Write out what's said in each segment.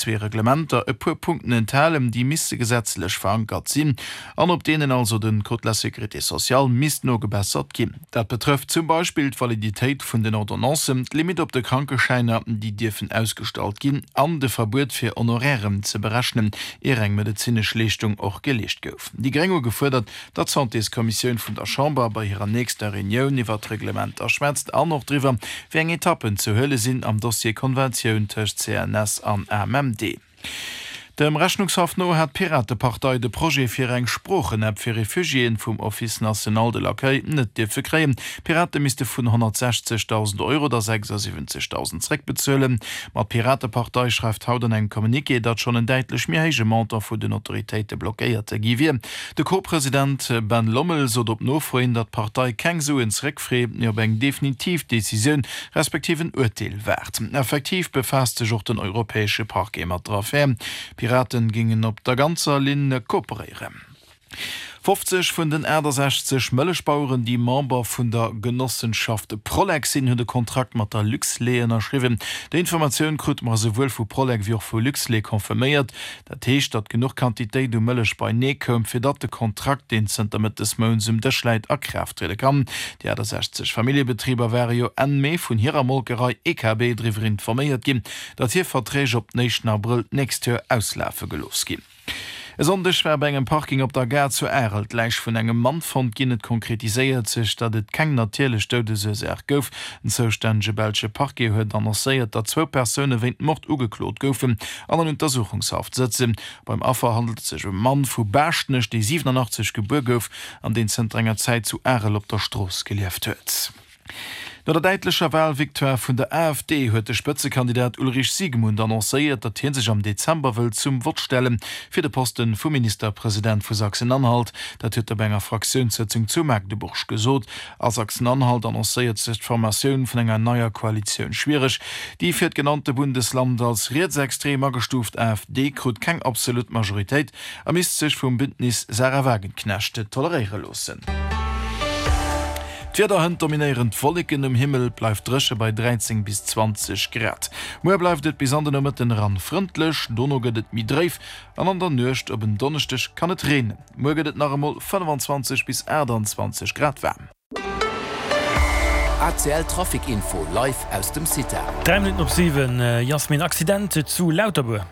Zwee Reglementer e puer Punkten enthalen, déi misste gesetzlech verankert sinn an op deenen also de Code de la sécurité sociale misst nogebessert ginn. Dat betrëfft zum Beispill d'Validitéit vun den Ordonnancen, d'Limitt op de Krankeschäiner, déi dierfen ausgestallt ginn, an de Verbuet fir Honorairen ze berechnen, ier eng medezinesch Leeschtung och geleescht gouf. Déi Gréng hu gefuerdert, datt d'Santéskommissioun vun der Chamber bei hirer nächster Reunioun iwwer d'Reglementer schwätzt an och driwwer, wéi eng Etappen ze huele sinn am Dossier Konventioun tëscht CNS an AMMD. Dem Rechnungshaff no hat d'Piratepartei de Projet fir eng Sproochenapp fir Refugiéen vum Office national de l'accueil net dierfe kréien. D'Pirate misste vun 160.000 Euro der 76.000 zréckbezuelen. Ma d'Piratepartei schreift haut an engem Communiqué, datt schonn en däitlech méi héije Montant vun den Autoritéite blockéiert gi wier. De Co-President Ben Lommel sot op Nofro hin, datt d'Partei keng Suen zeréckfreet, mee op eng definitiv Decisioun, respektiv en Urteel waart. Effektiv befaasst sech och den europäesche Parquet mat der Affär. D'Piraten géingen op der ganzer Linn kooperéieren. 50 vun den 68 Mëllechbaueren, déi Member vun der Genossenschaft Prolec sinn, hunn de Kontrakt mat der Luxlait ënnerschriwwen. Déi Informatioun krute mer esouwuel vu Prolec wéi och vu Luxlait confirméiert. Dat heescht, datt genuch Quantitéit u Mëllech beinee koum, fir datt de Kontrakt, deen zënter Mëtt des Mounts um Dësch läit, a Kraaft triede kann. Déi 68 Familljebetriber ware jo Enn Mee vun hirer Molkerei EKB driwwer informéiert ginn, datt hir Verträg op den éischten Abrëll d'nächst Joer auslafe gelooss ginn. E Sonndeg war bei engem Parking op der Gare zu Arel d'Läich vun engem Mann fonnt ginn. Et konkretiséiert sech, datt et keng natierlech Doudesursaach gouf. Den zoustännege belsche Parquet huet annoncéiert, datt zwou Persoune wéint Mord ugeklot goufen an an Untersuchungshaft sëtzen. Beim Affer handelt et sech ëm e Mann vu Baaschtnech, dee 87 gebuer gouf an deen zënter enger Zäit zu Arel op der Strooss gelieft huet. No der däitlecher Walvictoire vun der AfD huet de Spëtzekandidat Ulrich Siegmund annoncéiert, datt hie sech am Dezember wëllt zum Vott stelle fir de Posten vum Ministerpresident vu Sachsen-Anhalt. Dat huet e bei enger Fraktiounssëtzung zu Magdeburg gesot. A Sachsen-Anhalt annoncéiert sech d'Formatioun vun enger neier Koalitioun schwiereg. Déi fir d'genannte Bundesland als rietsextrem agestuuft AfD krut keng absolut Majoritéit a misst sech vum Bündnis Sahra Wagenknecht toleréiere loossen. D'Wieder, Hënt dominéieren d'Wolleken um Himmel, et bleift dréche bei 13 bis 20 Grad. Muer bleift et bis an de Nomëtten eran frëndlech, dono gëtt et méi dréif an an der Nuecht op en Donneschdeg kann et reenen. Muer gëtt et nach emol 25 bis 28 Grad waarm. ACL Trafic Info live aus dem CITA. 3 Minutten op 7, Jasmin, Accident zu Lauterbuer.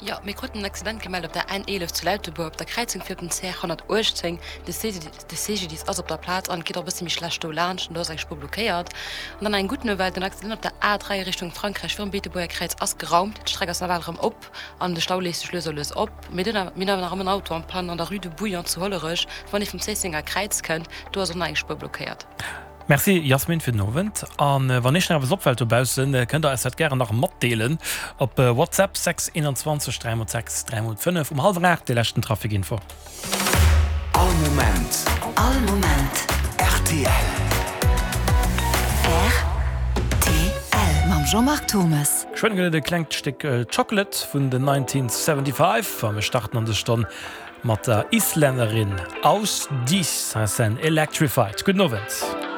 Jo, mir kruten en Accident gemellt op der N11 zu Lauterbuer op der Kräizung fir op den CR 118. De CGDIS ass op der Plaz an et geet och e bësse méi schlecht do laanscht an do ass eng Spuer blockéiert. An dann eng gutt Nouvelle, den Accident op der A3 Richtung Frankräich virum Beetebuerger Kräiz ass geraumt, d'Streck ass nawell erëm op. An de Stau léist sech lues a lues op. Mir hunn awer nach ëmmer en Auto en panne an der Rue de Bouillon zu Hollerech, wann ee vum Zéissenger Kräiz kënnt. Do ass och nach eng Spuer blockéiert. Merci Jasmin fir den Owend. An wann iech nach eppes opfällt dobaussen, kënnt der eis dat gären nach matdeelen op WhatsApp 6 21 3 x 6 3 x 5 um hallwer 8 déi leschten Traficinfo. All Moment. All Moment. Rtl. Rtl. Mam Jean-Marc Thomes. Geschwënn gëtt et e klengt Stéck Chocolate vun den 1975 a mir starten an des Stonn mat der Islännerin Ásdís Hansen, Electrified. Gudden Owend.